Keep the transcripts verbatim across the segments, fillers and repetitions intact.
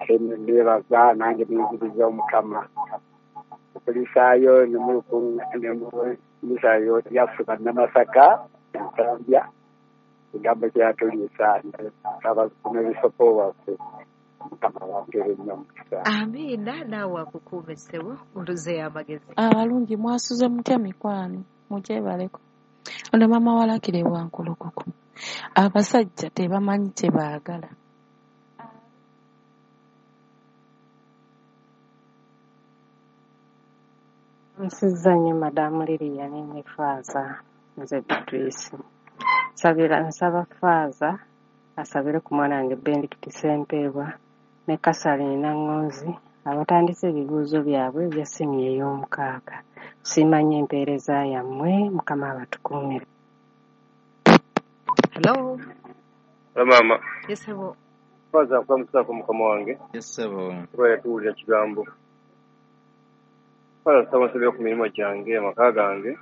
Ate nebaza nange nenziriza Omukama okulisaayo nemulisaayo lyaffe Bannamasaka Nsambya ekigambo kyatuliisa nsaba n'ebisopo waffe Mukama wampeere nnyo omukisa. Amiina, naawe akukuume ssebo oluzeeyo amagezi. Abalungi mwasuze mutya mikwano, mugyebaleko. Ono maama walakire Wankulukuku. Abasajja tebamanyi kye baagala. Nsizza nnyo Madamu Lilian ne Faaza, nze Beatrice. Nsabira nsaba Faaza asabire ku mwana wange Benedict Ssempeebwa ne Kasalini Nangonzi abatandise ebibuuzo byabwe ebya siniya ey'omukaaga. Nsiima nnyo empeereza yammwe, Mukama abatukuumire. Hello. Hello maama. Yes ssebo. Faaza nkulamusaako mukama wange. Yes ssebo. Tubaire tuwulira kigambo. Faaza nsaba nsabire ku mirimu gyange, amaka gange,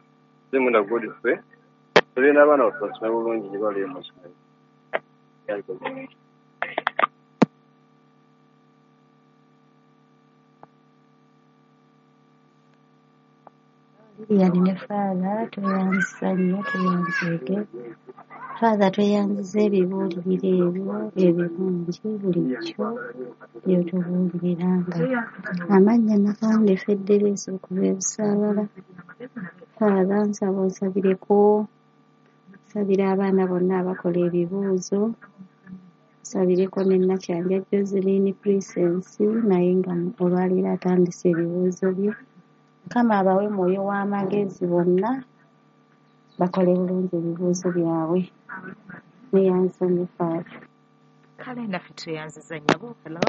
Zemunda Godfrey, nsabire n'abaana baffe basome bulungi gye bali mu masomero. Lilian ne Faaza tweyanzisa nnyo tweyanzeege. Faaza tweyanziza ebibuuliriro ebyo ebirungi bulijjo by'otubuuliriranga. Amannya Nakawunde Federesi okuva e Busaabala. Faaza nsaba onsabireko, nsabira abaana bonna abakola ebibuuzo, nsabireko ne Nakyanja Joseline Presence naye nga olwaleero atandise ebibuuzo bye. Mukama abawe mwoyo w'amagezi bonna bakole bulungi ebibuuzo byabwe. Neyanza nnyo Faaza. Kale naffe tweyanziza nnyabo. Hello.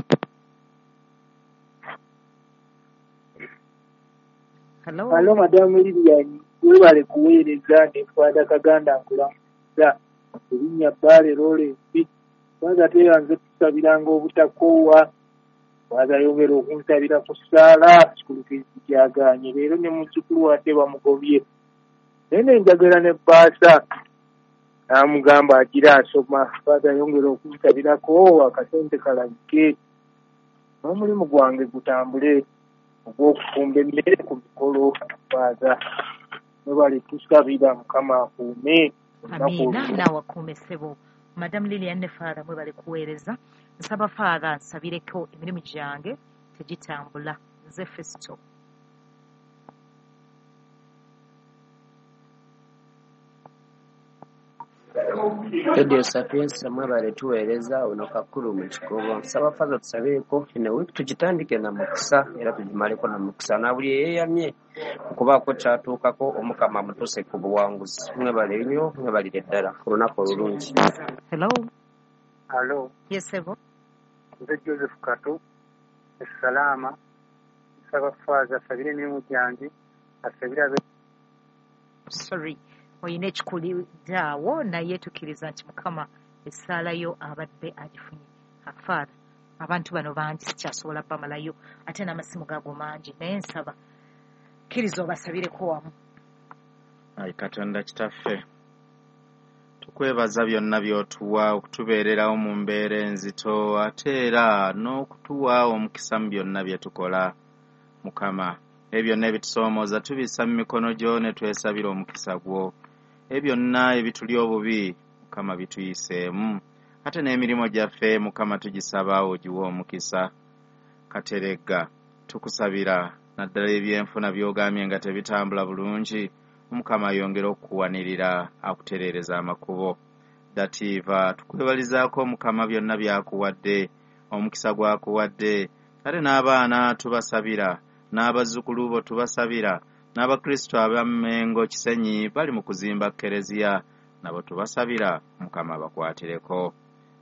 Hello. Hello Madamu Lilian, webale kuweereza ne Faaza Kaganda nkulamuza. Erinnya Bbaale Lawrence. Faaza tweyanze tusabiranga obutakoowa. Faaza yongera okunsabira ku ssaala kikulu kyagaanye leero ne muzzukulu wadde bamugobye. Naye ne njagala ne bbaasa n'amugamba agira asoma. Faaza yongera okunsabirako akasente kalabike n'omulimu gwange gutambule ogw'okufumba emmere ku mikolo. Faaza mwebale tusabira Mukama akuume. Amiina, naawe akuume ssebo. Madamu Lilian ne Faaza mwebale kuweereza. Nsaba Faaza nsabireko emirimu gyange tegitambula. Nze Festo. Radio Sapienza mwebale tuweereza ono kakulu mu kikobo. Nsaba Faaza tusabireko eno wiiki tugitandike na mukisa era tugimaleko na mukisa na buli eyeeyamye okubaako kyatuukako Omukama amutuuse ku buwanguzi. Mwebale nnyo, mwebalire ddala olunaku olulungi. Hello. Hello. Yes ssebo. Nze Joseph Kato Essalama. Nsaba Faaza asabire emirimu gyange, asabire abe Sorry. Oyina ekikulidde awo naye tukkiriza nti Mukama essaala yo abadde agifunye. Father, abantu bano bangi sikyasobola bamalayo ate n'amasimu gago mangi naye nsaba kkiriza obasabireko wamu. Ayi Katonda kitaffe, tukwebaza byonna by'otuwa okutubeererawo mu mbeera enzito ate era n'okutuwa omukisa mu byonna bye tukola. Mukama, ebyo byonna ebitusoomooza tubissa mu mikono gyo ne twesabira omukisa gwo. Ebyo byonna ebituli obubi Mukama bituyiseemu ate n'emirimu gyaffe Mukama tugisaba ogiwe omukisa. Kateregga tukusabira naddala ebyenfuna by'ogambye nga tebitambula bulungi, Omukama ayongere okukuwanirira akutereereza amakubo. Dativa tukwebalizaako Mukama byonna by'akuwadde, omukisa gw'akuwadde, ate n'abaana tubasabira, n'abazzukulu bo tubasabira, n'Abakristo ab'Ammengo Kisenyi bali mu kuzimba Kereziya nabo tubasabira Mukama abakwatireko.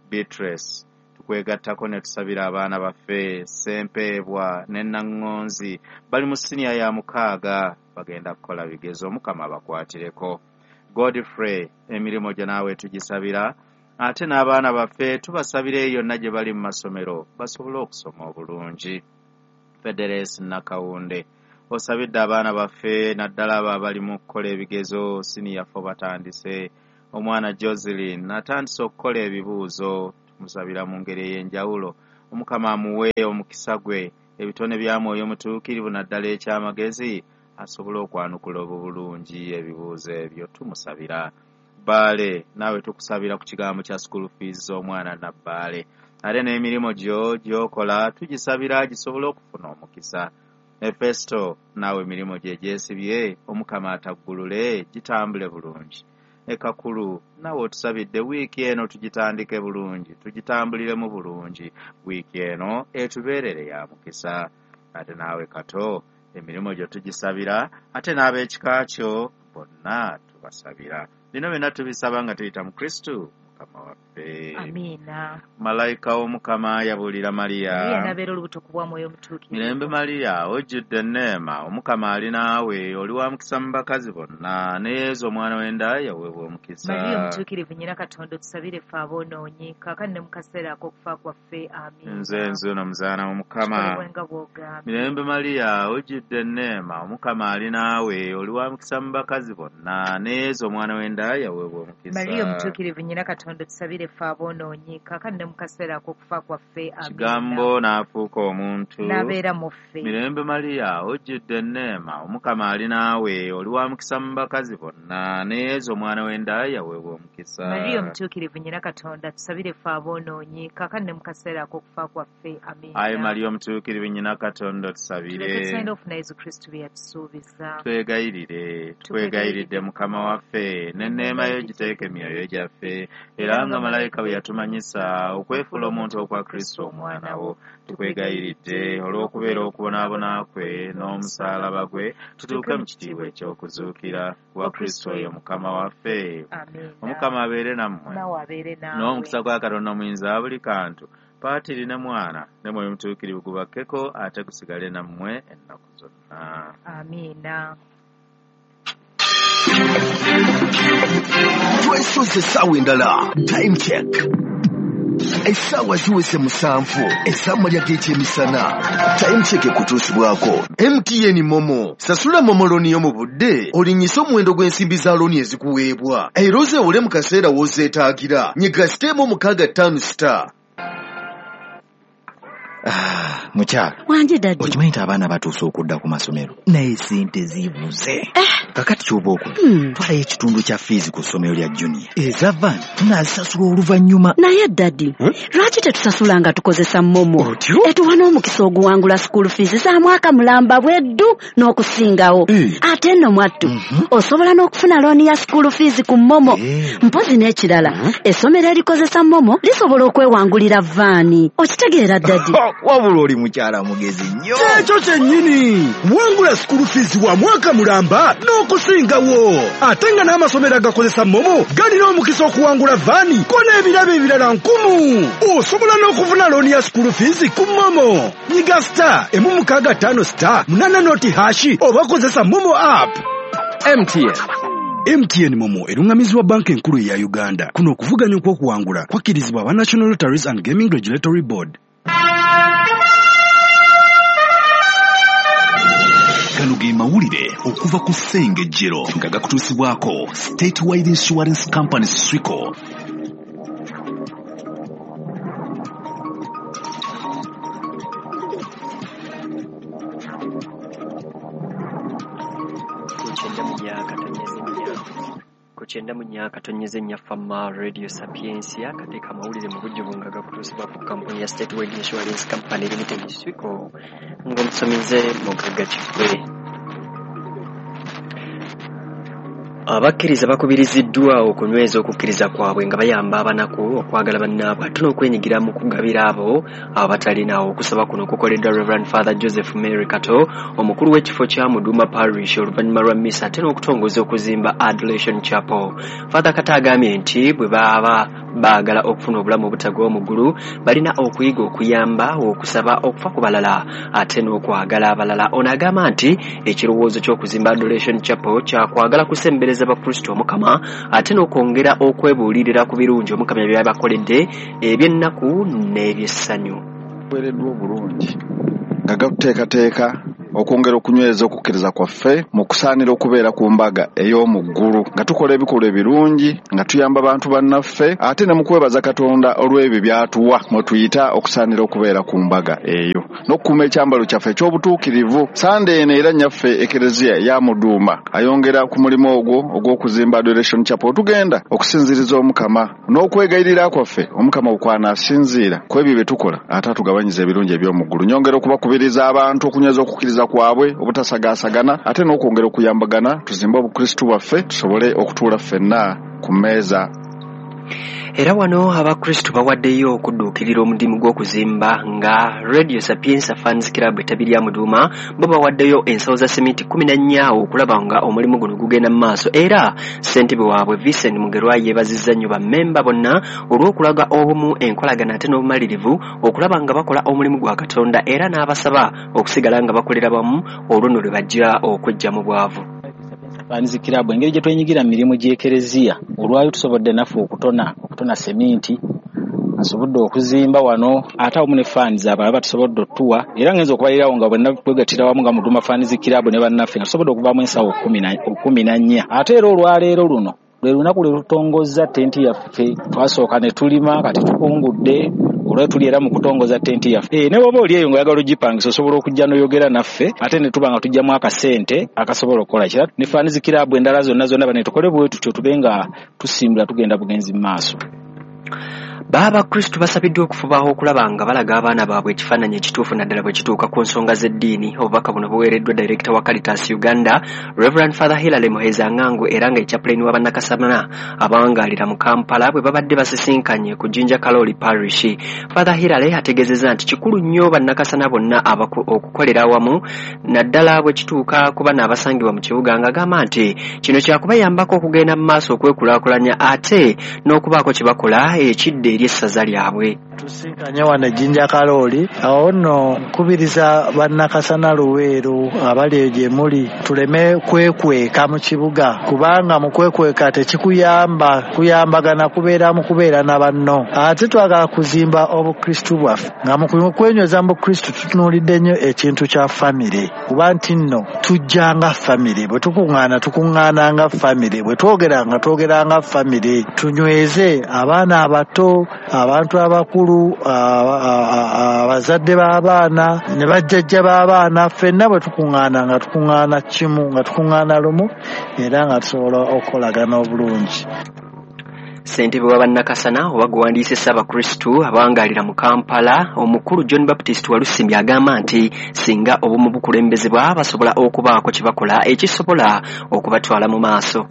Beatrice tukwegattako ne tusabira abaana baffe Ssempeebwa ne Nangonzi bali mu siniya ya mukaaga bagenda kukola bigezo, Mukama abakwatireko. Godfrey emirimu gyo naawe tugisabira ate n'abaana baffe tubasabira eyo yonna gye bali mu masomero basobole okusoma obulungi. Federesi Nakawunde osabidde abaana baffe naddala abo abali mu kukola ebigezo siniya fo batandise. Omwana Joseline atandise okukola ebibuuzo, tumusabira mu ngeri ey'enjawulo Omukama amuwe omukisa gwe, ebitone bya Mwoyo Mutuukirivu naddala ekyamagezi, asobole okwanukula obulungi ebibuuzo ebyo. Tumusabira. Bbaale, naawe tukusabira ku kigambo kya school fees z'omwana Nabbaale, ate n'emirimu gyo gy'okola tugisabira gisobole okufuna omukisa. Efesto, naawe emirimu gye gyesibye Omukama ataggulule gitambule bulungi. Ekakulu, naawe otusabidde wiiki eno tugitandike bulungi, tugitambuliremu bulungi, wiiki eno etubeerere ya mukisa. Ate naawe Kato, emirimu gyo tugisabira, ate n'ab'ekika kyo bonna tubasabira. Bino byonna tubisaba nga tuyita mu Kristu Mukama waffe. Amiina. Malayika w'Omukama yabuulira Mariya. Mariya n'abeera olubuto ku bwa Mwoyo Mutuukirivu. Mirembe Mariya, ojjudde enneema, Omukama ali naawe, oli wa mukisa mu bakazi bonna, ne Yezu omwana w'enda yaweebwa omukisa. Mariya Omutuukirivu nnyina Katonda, otusabire ffe aboonoonyi, kaakano ne mu kaseera ak'okufa kwaffe. Amiina. Nze nzuuno muzaana w'Omukama. Kikolebwe nga bw'ogambye. Mirembe Mariya, ojjudde enneema, Omukama ali naawe, oli wa mukisa mu bakazi bonna, ne Yezu omwana w'enda yaweebwa omukisa. Mariya Omutuukirivu nnyina Katonda, otusabire ffe aboonoonyi, kaakano ne mu kaseera ak'okufa kwaffe. Amiina. Kigambo n'afuuka omuntu n'abeera mu ffe. Mirembe Mariya, ojjudde enneema, Omukama ali naawe, oli wa mukisa mu bakazi bonna, ne Yezu omwana w'enda yaweebwa omukisa. Mariya Omutuukirivu nnyina Katonda, tusabire ffe aboonoonyi, kaakano ne mu kaseera ak'okufa kwaffe. Amiina. Ayi Mariya Omutuukirivu nnyina Katonda, otusabire. Tuleke tusaanire okufuna Yezu Kristu bye yatusuubiza. Twegayirire, twegayiridde Mukama waffe, n'enneema yo giteeke emyoyo gyaffe, era nga malayika bwe yatumanyisa okwefuula omuntu okwa Kristo omwana wo, tukwegayiridde olw'okubeera okubonaabona kwe n'omusaalaba gwe, tutuuke mu kitiibwa eky'okuzuukira wa Kristo oyo Mukama waffe. Amiina. Omukama abeere nammwe. Naawe abeere naawe. N'omukisa gwa Katonda omuyinza wa buli kantu, Patiri ne Mwana ne Mwoyo Mutuukirivu gubakkeko ate gusigale nammwe ennaku zonna. Amiina. Twesoze essaawa endala. Time check. Essaawa ziweze musanvu ez'amalya g'ekyemisana. Time check ekutuusibwako M T N Momo. Sasula Momo looni yo mu budde, olinnyise omuwendo gw'ensimbi za looni ezikuweebwa, era ozeewole mu kaseera w'ozeetaagira. Nyiga siteemu mukaaga ttaano star. Ah, mukyala Wanje daddy. Okimanyi nti abaana batuuse okudda ku masomero, naye sente zibuze. Kakati ky'oba okola, Hmm. twalayo ekitundu kya fiizi ku ssomero lya Junior, eza van tunaazisasula oluvannyuma. Naye daddy, lwaki tetusasula nga tukozesa Momo? Otyo? Etuwa n'omukisa oguwangula school fees za mwaka mulamba bweddu n'okusingawo. Eh. Ate nno mwattu, osobola n'okufuna looni ya school fees ku Momo. Eh. Mpozi n'ekirala, essomero erikozesa Momo lisobola okwewangulira vaani. Okitegeera daddy? Wabula oli mukyala mugezi nnyo. Kyekyo kyennyini. Wangula school fees wa mwaka mulamba n'okusingawo. Ate nga n'amasomero agakozesa Momo galina omukisa okuwangula vaani ko n'ebirabo ebirala nkumu. Osobola n'okufuna looni ya school fees ku Momo. Nyiga star emu mukaaga ttaano star munaana noti hashi oba kozesa Momo app. M T N. M T N Momo erungamizibwa banka enkulu eya Uganda. Kuno okuvuganya okw'okuwangula kwakkirizibwa aba National Lotteries and Gaming Regulatory Board. Gano ge mawulire okuva ku Ssengejjero nga gakutuusibwako Statewide Insurance Company Swico. Ku kyenda mu nnya katonyeze nnya ku kyenda mu nnya katonyeze nnya Fama Radio Sapientia kateeka amawulire mu bujjuvu nga gakutuusibwa ku kampuni ya Statewide Insurance Company Limited Swico ng'omusomize Mugagga Kifwe. Abakkiriza bakubiriziddwa okunyweza okukkiriza kwabwe nga bayamba abanaku okwagala bannaabwe ate n'okwenyigira mu kugabira abo abatalina. Okusaba kuno kukoleddwa Reverend Father Joseph Mary Kato, omukulu w'ekifo kya Muduma Parish, oluvannyuma lwa mmisa ate n'okutongoza okuzimba Adoration Chapel. Father Kato agambye nti bwe baba baagala okufuna obulamu obutagwa mu ggulu balina okuyiga okuyamba, okusaba, okufa ku balala ate n'okwagala abalala. Ono agamba nti ekirowoozo ky'okuzimba Adoration Chapel kyakwagala kusembereza Bakristo Omukama ate n'okwongera okwebuulirira ku birungi Omukama by'abakoledde eby'ennaku n'eby'essanyu. Weereddwa obulungi nga gakuteekateeka okwongera okunyweza okukkiriza kwaffe mu kusaanira okubeera ku mbaga ey'omu ggulu, nga tukola ebikolwa ebirungi, nga tuyamba bantu bannaffe, ate ne mu kwebaza Katonda olw'ebyo by'atuwa mwe tuyita okusaanira okubeera ku mbaga eyo, n'okukuuma ekyambalo kyaffe eky'obutuukirivu. Sande eno era nnyaffe Ekereziya ya Muduuma ayongera ku mulimu ogwo ogw'okuzimba Adoration Chapel. Tugenda okusinziriza Omukama n'okwegayirira kwaffe Omukama okwanaasinziira ku ebyo bye tukola, ate atugabanyiza ebirungi eby'omu ggulu. Nyongera okubakubiriza abantu okunyweza okukkiriza kwabwe, obutasagaasagana, ate n'okwongera okuyambagana tuzimbe obukristu bwaffe tusobole okutuula ffenna ku mmeeza. Era wano abakristu bawaddeyo okudduukirira omudimu gw'okuzimba nga Radio Sapienza Fans Club ettabi lya Muduuma bo bawaddeyo ensawo za seminti kkumi na nnya okulaba nga omulimu guno gugenda mu maaso. Era ssentebe waabwe Vincent Mugerwa yeebazizza nnyo bammemba bonna olw'okulaga obumu, enkolagana ate n'obumalirivu okulaba nga bakola omulimu gwa Katonda, era n'abasaba okusigala nga bakolera wamu olwo nno lwe bajja okweggya mu bwavu. Fans Club engeri gye twenyigira mu mirimu gy'Ekereziya, olwayo tusobodde naffe okutona okutona seminti, asobodde okuzimba wano, ate awamu ne fans abalala batusobodde otuwa, era ngenza okubalirawo nga bonna twegattira wamu nga Muduuma Fans Club ne bannaffe nga tusobodde okuvaamu ensawo kkumi na nnya. Ate era olwaleero luno lwe lunaku lwe tutongozza tenti yaffe. Twasooka ne tulima, kati tukungudde olwa tuli era mu kutongoza tenti yaffe. E, ne bw'oba oli eyo ng'oyagala ogipangisa osobola okujja n'oyogera naffe, ate ne tuba nga tujjamu akasente akasobola okukola kira. Ne Fans Club endala zonna zonna bane tukole bwe tutyo tube nga tusimbula tugenda bugenzi mu maaso. Baabakristu basabiddwa okufuba okulaba nga balaga abaana baabwe ekifaananyi ekituufu naddala bwe kituuka ku nsonga z'eddiini. Obubaka buno buweereddwa Director wa Caritas Uganda, Reverend Father Hilary Muheza Ngangu, era nga chaplain wa Bannakasamana abawangaalira mu Kampala bwe babadde basisinkanye ku Jinja Kaloli Parish. Father Hilary ategeezezza nti kikulu nnyo Bannakasana bonna okukolera awamu naddala bwe kituuka ku bana abasangibwa mu kibuga, ng'agamba nti kino kyakubayambako okugenda mu maaso okwekulaakulanya ate n'okubaako kye bakola ekidde eri essaza lyabwe. Tusinkanye wano e Jinja Kaloli. Awo nno nkubiriza Bannakasana Luweero abali eyo gye muli tuleme kwekweka mu kibuga, kubanga mu kwekweka tekikuyamba, kuyambagana kubeera mu kubeera na banno. Ate twagala kuzimba obukristu bwaffe, nga mu kwenyweza mu bukristu tutunuulidde nnyo ekintu kya famire, kuba nti nno tujja nga famire, bwe tukuŋŋaana tukuŋŋaana nga famire, bwe twogera nga twogera nga famire. Tunyweze abaana abato, abantu abakulu, abazadde b'abaana ne bajjajja b'abaana, ffenna bwe tukuŋŋaana nga tukuŋŋaana kimu, nga tukuŋŋaana lumu, era nga tusobola okukolagana obulungi. Ssentebe wa Bannakasana oba gwewandiise Ssaabakristu abawangaalira mu Kampala, omukulu John Baptist Walusimbi agamba nti singa obumu bukulembezebwa basobola okubaako kye bakola ekisobola okubatwala mu maaso.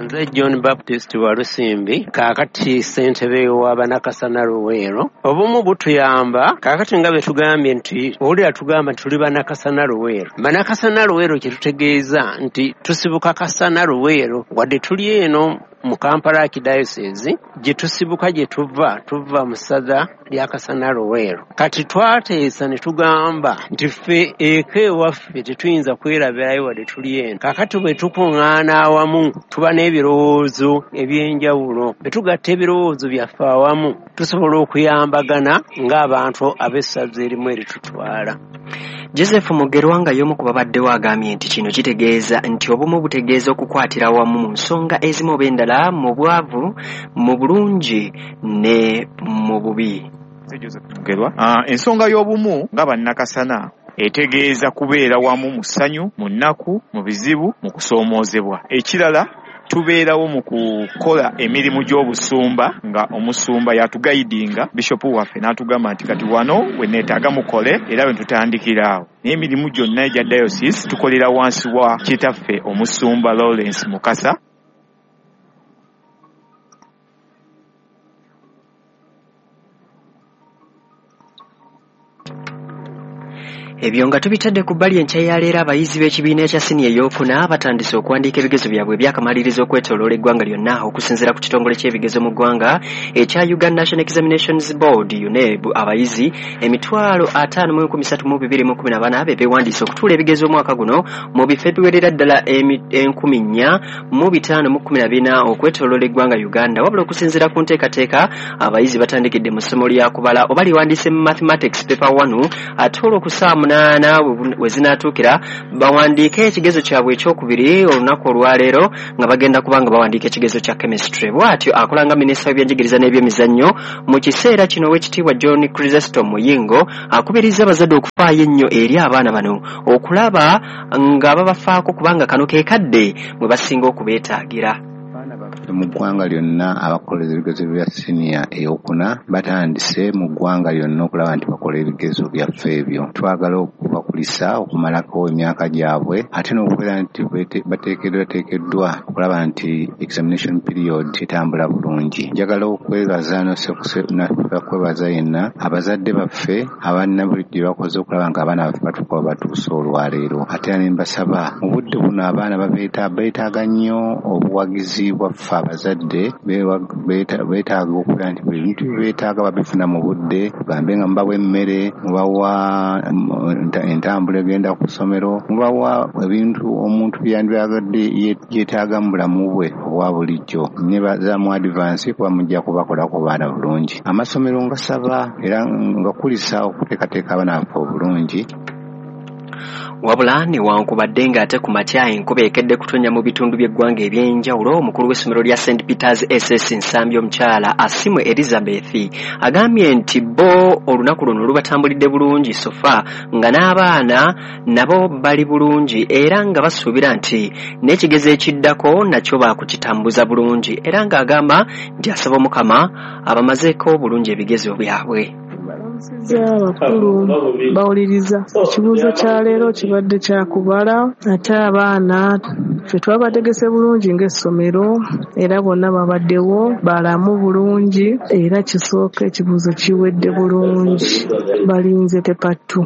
Nze John Baptist Walusimbi, kaakati ssentebe wa Bannakasana Luweero. Obumu butuyamba kaakati nga bwe tugambye nti owulira tugamba nti tuli Bannakasana Luweero. Bannakasana Luweero kye tutegeeza nti tusibuka Kasana Luweero, wadde tuli eno mu Kampala Archdiocese gye tusibuka gye tuva tuva mu ssaza lya Kasana Luweero. Kati twateesa ne tugamba nti ffe eka ewaffe tetuyinza kwerabirayo wadde tuli eno. Kaakati bwe tukuŋŋaana awamu tuba n'ebirowoozo eby'enjawulo, bwe tugatta ebirowoozo byaffe awamu tusobola okuyambagana ng'abantu ab'essaza erimu eritutwala. Joseph Mugerwa nga y'omu ku babaddewo agambye nti kino kitegeeza nti obumu butegeeza okukwatira awamu mu nsonga ezimu oba endala, mu bwavu, mu bulungi ne mu bubi. Joseph Mugerwa, ensonga y'obumu nga Bannakasana etegeeza kubeera wamu mu ssanyu, mu nnaku, mu bizibu, mu kusoomoozebwa. Ekirala tubeerawo mu kukola emirimu gy'obusumba nga omusumba yatugayidinga, bishopu waffe n'atugamba nti kati wano we neetaaga mukole, era bwe tutandikira awo. N'emirimu gyonna egya diocese tukolera wansi wa kitaffe omusumba Lawrence Mukasa. Ebyo nga tubitadde ku bbali, enkya ya leero abayizi b'ekibiina ekya siniya ey'okuna batandise okuwandiika ebigezo byabwe ebyakamaliriza okwetooloola eggwanga lyonna okusinziira ku kitongole ky'ebigezo mu ggwanga ekya Uganda National Examinations Board UNEB. Abayizi emitwalo ataano mu enkumi ssatu mu bibiri mu kkumi na bana be beewandiise okutuula ebigezo omwaka guno mu bifo ebiwerera ddala enkumi nnya mu bitaano mu kkumi na bina okwetooloola eggwanga Uganda. Wabula okusinziira ku nteekateeka, abayizi batandikidde mu ssomo lya kubala oba liwandiise mu mathematics paper one, ate olwo ku ssaawa munaana we zinaatuukira bawandiike ekigezo kyabwe ekyokubiri olunaku olwaleero nga bagenda kuba nga bawandiika ekigezo kya chemistry. Bw'atyo akolanga minisita w'ebyenjigiriza n'ebyemizannyo mu kiseera kino ow'ekitiibwa John Chrysostom Muyingo akubiriza abazadde okufaayo ennyo eri abaana bano okulaba nga babafaako kubanga kano ke kadde mwe basinga okubeetaagira. Mu ggwanga lyonna abakola ebigezo bya siniya ey'okuna batandise mu ggwanga lyonna okulaba nti bakola ebigezo byaffe ebyo. Twagala okubakulisa okumalako emyaka gyabwe ate n'okubeera nti bateekeddwa teekeddwa okulaba nti examination period etambula bulungi. Njagala okwebaza n'okwebaza yenna abazadde baffe abalina buli gye bakoze okulaba nga abaana baffe batuuka batuuse olwaleero. Ate era ne mbasaba mu budde buno abaana beetaaga nnyo obuwagizi bwaffe abazadde beetaaga okubeera nti buli bintu bye beetaaga babifuna mu budde, tugambe nga mubawa emmere, mubawa entambula egenda ku ssomero, mubawa ebintu omuntu byandyagadde yeetaaga mu bulamu bwe obwa bulijjo. Nneebaza mu advance kuba mujja kubakolako baana bulungi. Amasomero ngasaba era ngakulisa okuteekateeka abaana baffe obulungi. Wabula newankubadde ng'ate ku makya enkuba ekedde kutonnya mu bitundu by'eggwanga eby'enjawulo, omukulu w'essomero lya Saint Peters S S Nsambya omukyala Asimwe Elizabeth agambye nti bo olunaku luno lubatambulidde bulungi sofa nga n'abaana nabo bali bulungi era nga basuubira nti n'ekigezo ekiddako nakyo baakukitambuza bulungi era ng'agamba nti asaba Omukama abamazeeko bulungi ebigezo byabwe. Abakulu bawuliriza ekibuuzo kya leero kibadde kya kubala ate abaana ffe twabategese bulungi ng'essomero era bonna babaddewo balamu bulungi era kisooka ekibuuzo kiwedde bulungi balinze tepattu.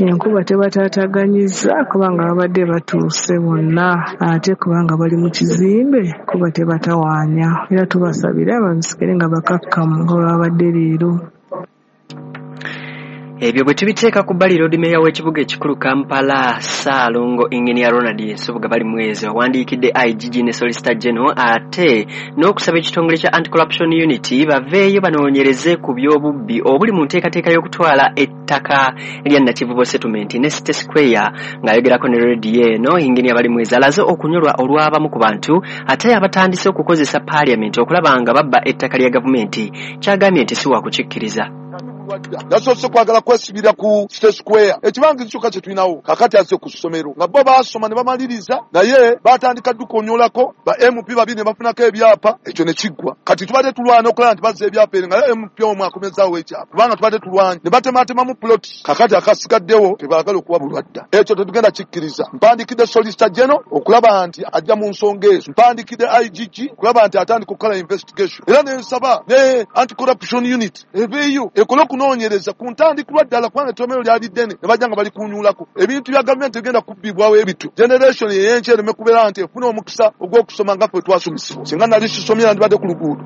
Enkuba tebataataaganyizza kubanga babadde batuuse bonna ate kubanga bali mu kizimbe kuba tebatawaanya era tubasabira babisikire nga bakakkamu nga babadde leero. Ebyo bwe tubiteeka ku bbali, Lord Mayor w'ekibuga ekikulu Kampala Ssaalongo Engineer Ronald Nsubuga Balimwezo awandiikidde I G G ne Solicitor General ate n'okusaba ekitongole kya Anti-Corruption Unit baveeyo banoonyereze ku by'obubbi obuli mu nteekateeka y'okutwala ettaka lya Nakivubo Settlement ne City Square. Ng'ayogerako ne rediyo eno, Engineer Balimwezo alaze okunyolwa olw'abamu ku bantu ate abatandise okukozesa Parliament okulaba nga babba ettaka lya gavumenti kyagambye nti si wakukikkiriza. Yasoose kwagala kwesibira ku City Square ekibangirizi kyokka kye tulinawo kakati azze ku ssomero nga bo baasoma ne bamaliriza naye batandika ddukunyolako ba M P babiri ne bafunako ebyapa ekyo ne kiggwa. Kati tubadde tulwana okulaba nti bazza ebyapa eri nga M P omu akomezaawo ekyapa kubanga tubadde tulwanye ne batematemamu plot kakati akasigaddewo tebaagala okuwa bulwadda. Ekyo tetugenda kikkiriza. Mpandikidde Solicitor General okulaba nti ajja mu nsonga ezo, mpandikidde I G G okulaba nti atandika okukola investigation era ne nsaba ne Anti-Corruption Unit eveeyo ekole okunoonyereza ku ntandikirwa ddala kubanga ettomero lyali ddene ne bajja nga bali kunyulako ebintu bya gavumenti egenda kubbibwawo ebityo. Generation ey'enkya ereme kubeera nti efuna omukisa ogw'okusoma nga ffe twasomesebwa. Singa nali sisomye nandibadde ku luguudo.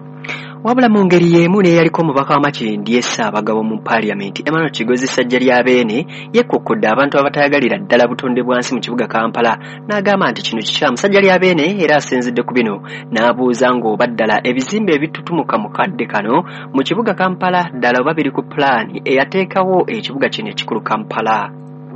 Wabula mu ngeri y'emu n'eyaliko omubaka wa Makindye Ssaabagabo mu Paaliyamenti Emmanuel Kigozi Ssajjalyabeene yekkokkodde abantu abatayagalira ddala butonde bwa nsi mu kibuga Kampala n'agamba nti kino kikyamu. Ssajjalyabeene era asinzidde ku bino n'abuuza ng'oba ddala ebizimbe ebitutumuka mu kadde kano mu kibuga Kampala ddala oba biri ku pulaani eyateekawo ekibuga kino ekikulu Kampala.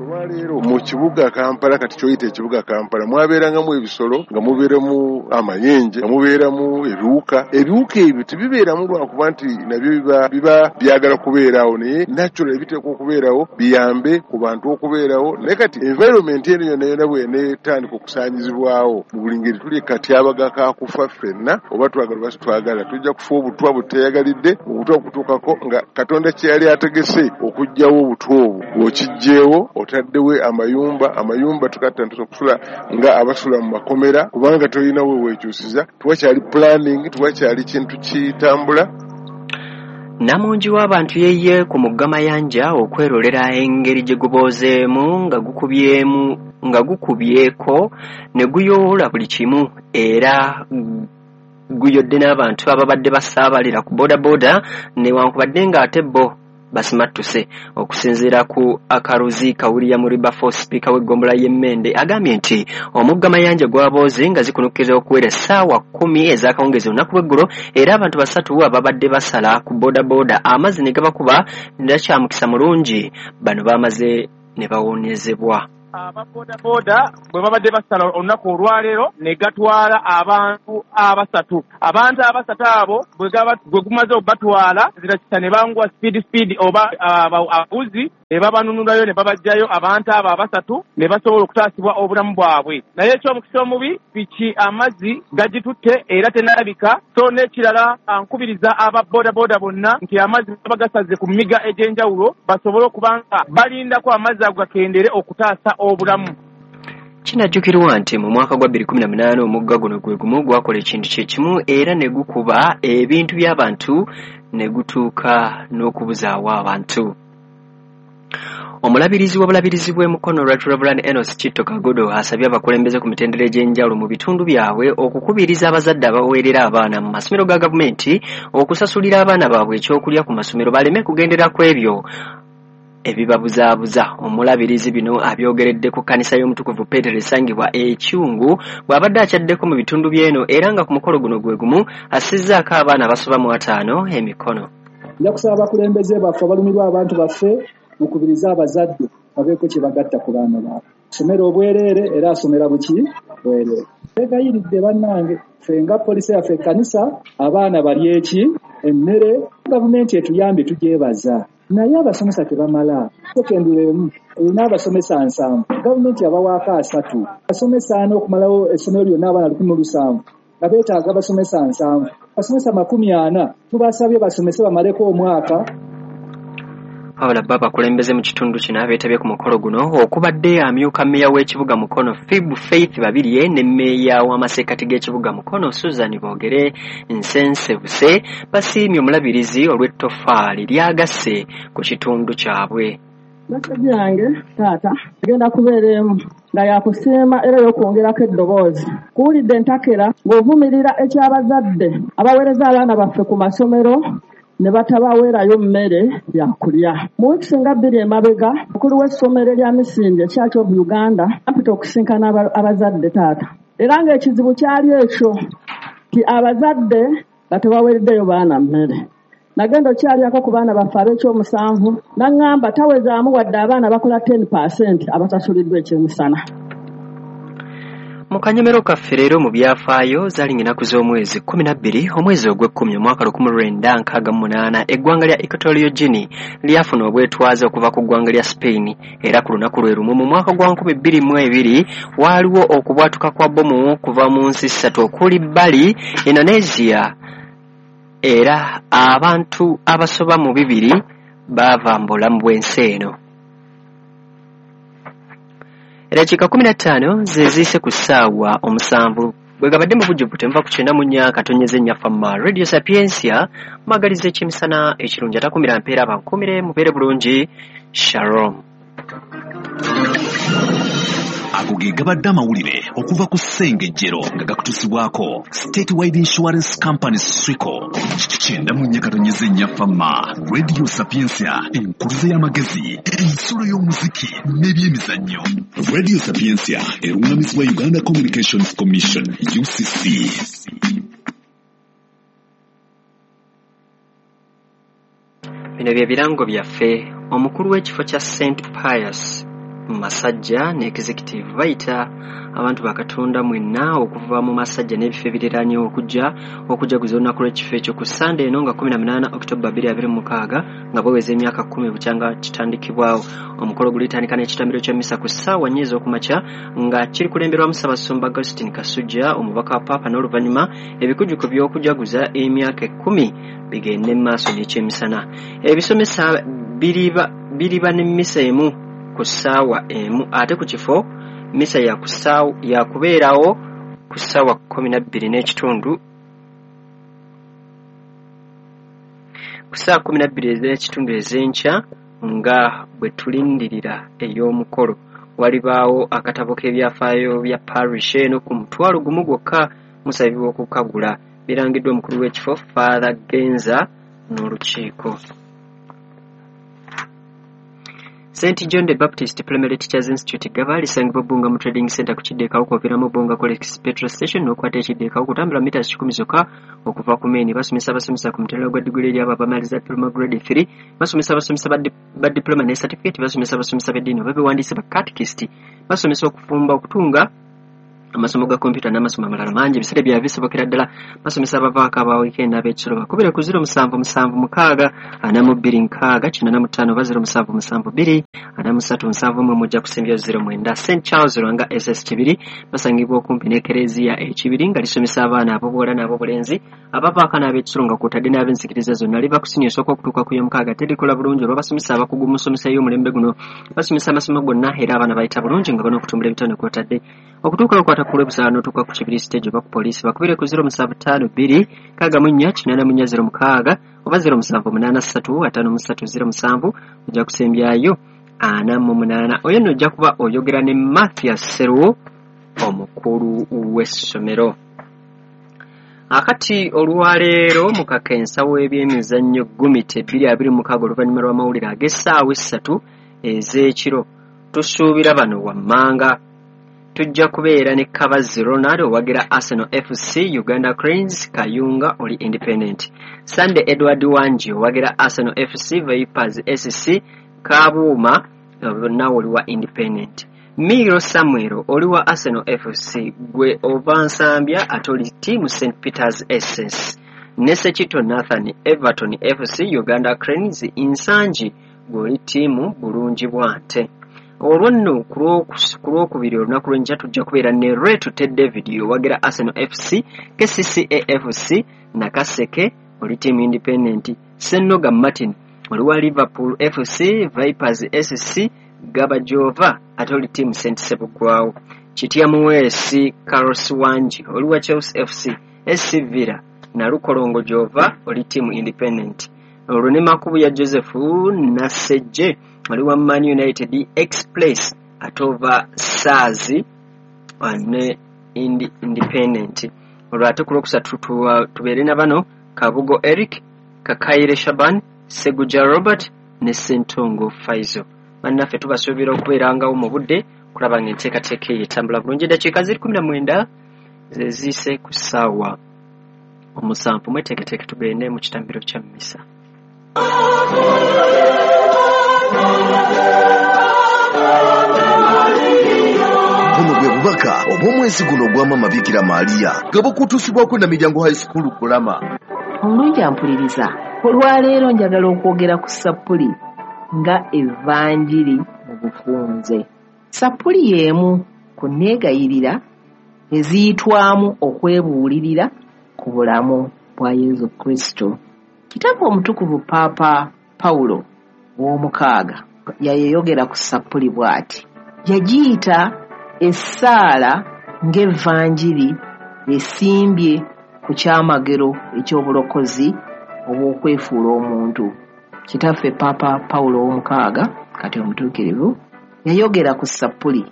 Olwaleero mu kibuga Kampala kati kyoyita ekibuga Kampala mwabeerangamu ebisolo nga mubeeramu amayenje nga mubeeramu ebiwuka. Ebiwuka ebyo tebibeeramu lwakuba nti nabyo biba biba byagala kubeerawo naye natural ebiteekwa okubeerawo biyambe ku bantu okubeerawo naye kati environment eno yonna yonna bw'eneetandika okusaanyizibwawo mu buli ngeri tuli katyabaga ka kufa ffenna oba twagala oba sitwagala tujja kufa obutwa buteeyagalidde obutwa okutuukako nga Katonda kye yali ategese okuggyawo obutwa obwo bw'okiggyeewo otaddewo amayumba amayumba tukatandika okusula nga abasula mu makomera kubanga tolina we weekyusiza tewakyali planning tewakyali kintu kitambula. Namungi w'abantu yeye ku mugga Mayanja okwerolera engeri gye guboozeemu nga gukubyemu nga gukubyeko ne guyoola buli kimu era guyodde n'abantu ababadde basaabalira ku boodabooda newankubadde ng'ate bo basimattuse. Okusinziira ku Akaruzi Kawulya Muriba sipiika w'eggombolola y'Emmende agambye nti omugga Mayanja gwabooze nga zikunukkiriza okuwera essaawa kkumi ez'akawungeezi olunaku lw'eggulo, era abantu basatu ababadde basala ku boodabooda amazzi ne gabakuba nakyamukisa mulungi bano bamaze ne bawonyezebwa. Ababodaboda bwe babadde basala olunaku olwaleero ne gatwala abantu abasatu. Abantu abasatu abo bwe gumaze okubatwala zirakisa ne banguwa speed speed oba abavuzi ne babanunulayo ne babajjayo abantu abo abasatu ne basobola okutaasibwa obulamu bwabwe. Naye ekyomukisa omubi piki amazzi gagitutte era tenalabika. So n'ekirala nkubiriza ababodaboda bonna nti amazzi baba gasaze ku miga egy'enjawulo basobole okuba nga balindako amazzi ago gakendere okutaasa obulamu. Kinajjukirwa nti mu mwaka gwa bbiri kumi na munaana omugga guno gwe gumu gwakola ekintu kye kimu era ne gukuba ebintu by'abantu ne gutuuka n'okubuzaawo abantu. Omulabirizi w'obulabirizi bw'e Mukono Right Reverend Enos Chitto Kagodo asabye abakulembeze ku mitendera egy'enjawulo mu bitundu byabwe okukubiriza abazadde abaweerera abaana mu masomero ga gavumenti okusasulira abaana baabwe ekyokulya ku masomero baleme kugendera ku ebyo ebibabuzaabuza. Omulabirizi bino abyogeredde ku kkanisa y'omutukuvu Peetero esangibwa e Kyungu bw'abadde akyaddeko mu bitundu by'eno, era nga ku mukolo guno gwe gumu assizzaako abaana abasoba mu ataano emikono. Nja kusaba abakulembeze baffe abalumirwa abantu baffe mukubirize abazadde babeeko kye bagatta ku baana baabwe. Asomera obwereere era asomera buki bwereere. Beegayiridde bannange, ffe nga polisi yaffe ekkanisa abaana bali eki emmere, gavumenti etuyambye tugyebaza. Naye abasomesa tebamala. Sekendule emu erina abasomesa nsanvu, gavumenti yabawaako asatu. Abasomesa ana okumalawo essomero lyonna abaana lukumi mu lusanvu nga beetaaga abasomesa nsanvu. Abasomesa makumi ana tubasabye basomese bamaleko omwaka. Wabula bo abakulembeze mu kitundu kino abeetabye ku mukolo guno okubadde amyuka mmeeya w'ekibuga Mukono Phib Faith Babirye ne mmeeya w'amasekkati g'ekibuga Mukono Susan Boogere Nsensebuse basiimye omulabirizi olw'ettofaali lyagasse ku kitundu kyabwe. Meseji yange taata egenda kubeera emu nga yakusiima era y'okwongerako eddoboozi. Kuwulidde entakera ng'ovumirira eky'abazadde abaweereza abaana baffe ku masomero ne batabaweerayo mmere ya kulya. Mu wiiki nga bbiri emabega, omukulu w'essomero erya Misinde Church of Uganda ampita okusinkana abazadde taata. Era ng'ekizibu kyali ekyo nti abazadde nga tebaweereddeyo baana mmere. Nagenda okyalyako ku baana baffe ab'ekyomusanvu n'aŋŋamba tawezaamu wadde abaana bakola ten percent abasasuliddwa ekyemisana. Mu kanyomero kaffe leero mu byafaayo zaali ng'ennaku z'omwezi kkumi na bbiri omwezi ogw'ekkumi omwaka lukumi lwenda nkaaga mu munaana eggwanga lya Equatorial Guinea lyafuna obwetwaze okuva ku ggwanga lya Spain, era ku lunaku lwe lumu mu mwaka gwa nkumi bbiri mu ebiri waaliwo okubwatuka kwa bbomu kuva mu nsi ssatu okuli Bali, Indonesia, era abantu abasoba mu bibiri baava mu bulamu bw'ensi eno. Eddakiika kkumi na ttaano ze ziyise ku ssaawa omusanvu bwe gabadde mu bujjuvu tenva ku kyenda mu nnya katonyeze nnya Fama Radio Sapientia mwagaliza ekyemisana ekirungi atakumira mpeera abankumire mubeere bulungi. Shalom. Ago ge gabadde amawulire okuva ku Ssengejjero nga gakutuusibwako Statewide Insurance Company Swico. Kyenda mu nnya katonyeze nnya Fama Radio Sapientia, enkuluze y'amagezi, ensulo y'omuziki n'ebyemizannyo. Radio Sapientia erungamizibwa Uganda Communications Commission U C C. Bino bye birango byaffe. Omukulu w'ekifo kya Saint Pius Masajja ne executive bayita abantu ba Katonda mwenna okuva mu Masajja n'ebifo ebiriraanye okujja okujaguza olunaku lw'ekifo ekyo ku Sande eno nga kkumi na munaana Oktoba bbiri abiri mu mukaaga nga baweza emyaka kkumi bukyanga kitandikibwawo. Omukolo gulitandika n'ekitambiro ky'emmisa ku ssaawa nnya ez'okumakya nga kiri kulemberwamu Ssaabasumba Augustine Kasujja omubaka wa Paapa, n'oluvannyuma ebikujjuko by'okujaguza emyaka ekkumi bigende mu maaso n'ekyemisana. Ebisomesa biriba biriba n'emmisa emu ku ssaawa emu, ate ku kifo mmisa yakubeerawo ku ssaawa kkumi na bbiri n'ekitundu ku ssaawa kkumi na bbiri ez'ekitundu ez'enkya nga bwe tulindirira ey'omukolo. Walibaawo akatabo k'ebyafaayo bya parish eno ku mutwalo gumu gwokka musabibwa okukagula. Birangiddwa omukulu w'ekifo Father Genza n'olukiiko. Saint John the Baptist Primary Teachers Institute Gaba lisangibwa Bbunga mu Trading Center ku Kiddekawo kw'oviiramu Bbunga College Petrol Station n'okwata Ekiddekawo kutambula mita kikumi zokka okuva ku main. Basomesa abasomesa ku mutendera gwa diguli eri abo abamaliza diploma grade three, basomesa abasomesa ba, ba diploma ne certificate, basomesa abasomesa b'eddiini oba bewandiise ba catechist, basomesa okufumba, okutunga, amasomo ga kompyuta n'amasomo amalala mangi. Ebiseera byabwe bisobokera ddala. Basomesa abavaako aba weekend ab'ekiro bakubire ku ziro musanvu musanvu mukaaga ana mu bbiri nkaaga kinaana mu ttaano oba ziro musanvu musanvu bbiri ana mu ssatu nsanvu mu mujja kusembya ziro mwenda. Saint Charles Lwanga S S Kibiri basangibwa okumpi n'ekereziya e Kibiri nga lisomesa abaana ab'obuwala n'ab'obulenzi abavaako n'ab'ekisolo nga kw'otadde n'ab'enzikiriza zonna. Liva ku siniya esooka okutuuka ku y'omukaaga. Terikola bulungi olw'abasomesa abakugu mu nsomesa y'omulembe guno. Basomesa amasomo gonna era abaana bayita bulungi nga ban'okutumbula ebitone kw'otadde okutuuka okwata ku lw'ebusaala n'otuuka ku Kibiri stage oba ku poliisi. Bakubire ku ziro musanvu ttaano bbiri nkaaga mu nnya kinaana mu nnya ziro mukaaga oba ziro musanvu munaana ssatu ataano mu ssatu ziro musanvu ojja kusembyayo ana mu munaana. Oyo nno ojja kuba oyogera ne Mathias Sseruwo omukulu w'essomero. Akati olwaleero mu kakensa w'ebyemizannyo Gumite bbiri abiri mu mukaaga oluvannyuma lw'amawulire ag'essaawa essatu ez'ekiro tusuubira bano wammanga. Tujja kubeera ne Kabazi Ronald owagira Arsenal F C, Uganda Cranes, Kayunga oli Independent. Sunday Edward Wangi owagira Arsenal F C, Vipers S C, Kabuuma nawe oli wa Independent. Miro Samuel oli wa Arsenal F C, gwe ova Nsambya ate oli team Saint Peters S S. Nesekito Nathan Everton F C, Uganda Cranes, Nsangi gwe oli ttiimu Bulungi Bwante. Olwo nno ku lwokubiri olunaku lw'enkya tujja kubeera ne Retute David owagira Arsenal F C, K C C A F C, Nakaseke oli team Independent, Senoga Martin oli wa Liverpool F C, Vipers S C, Gabajova ate oli team Saint Sebugwawo, Kitya Muweesi Carlos Wangi oli wa Chelsea F C, S C Villa Nalukolongo Jova oli team Independent. Olwo ne Makubuya Joseph Nasejje oli wa Man United Express ate ova Saazi ne Independent. Olwo ate ku lwokusatu tubeere na bano Kabugo Eric, Kakaire Shaban, Seguja Robert ne Ssentongo Faizo. Bannaffe tubasuubira okubeerangawo mu budde okulaba ng'enteekateeka eyo etambula bulungi. Eddakiika ziri kumi na mwenda ze ziyise ku ssaawa omusanvu. Mweteeketeeke tugende mu kitambiro kya mmisa. Buno bwe bubaka obw'omwezi guno ogwa Maama Bikira Maria nga bukutuusibwako na Miryango High School Kulama. Omulungi ampuliriza, olwaleero njagala okwogera ku sappuli nga evanjiri mu bufunze. Sappuli y'emu ku nneegayirira eziyitwamu okwebuulirira ku bulamu bwa Yesu Kristo. Kitaffe omutukuvu Paapa Pawulo ow'omukaaga yayeyogera ku sappuli bw'ati. Yagiyita essaala ng'evanjiri esimbye ku kyamagero eky'obulokozi obw'okwefuula omuntu. Kitaffe Paapa Pawulo ow'omukaaga kati omutuukirivu yayogera ku sappuli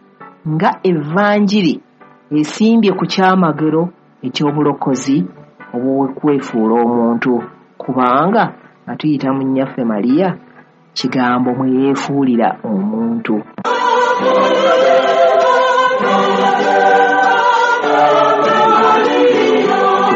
nga evanjiri esimbye ku kyamagero eky'obulokozi obw'okwefuula omuntu, kubanga nga tuyita mu nnyaffe Mariya kigambo mwe yeefuulira omuntu.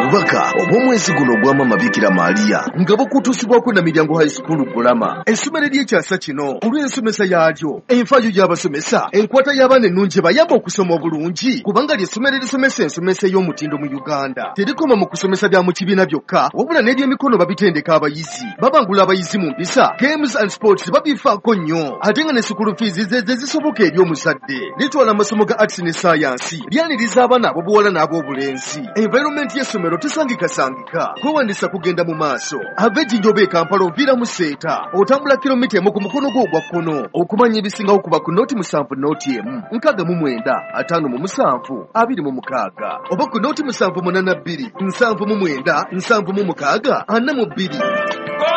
Obubaka obw'omwezi guno ogwa Maama Bikira Maria nga bukutuusibwako na Miryango High School Kulama, essomero ery'ekyasa kino olw'ensomesa yaalyo, enfaayo y'abasomesa, enkwata y'abaana ennungi ebayamba okusoma obulungi, kubanga ly'essomero erisomesa ensomesa ey'omutindo mu Uganda. Terikoma mu kusomesa bya mu kibiina byokka, wabula n'ebyemikono babitendeka abayizi, babangula abayizi mu mpisa, games and sports babifaako nnyo, ate nga ne school fees ze ze zisoboka eri omuzadde. Litwala amasomo ga arts ne science, lyaniriza abaana ab'obuwala n'ab'obulenzi. Environment y'essomero tesangikasangika, kwewandisa kugenda mu maaso. Ava Ejjinja oba e Kampala oviira mu Seeta, otambula kilomita emu ku mukono gwo ogwa kkono. Okumanya ebisingawo kuba ku nooti musanvu nooti emu nkaaga mu mwenda ataano mu musanvu abiri mu mukaaga oba ku nooti musanvu munaana bbiri nsanvu mu mwenda nsanvu mu mukaaga ana mu bbiri.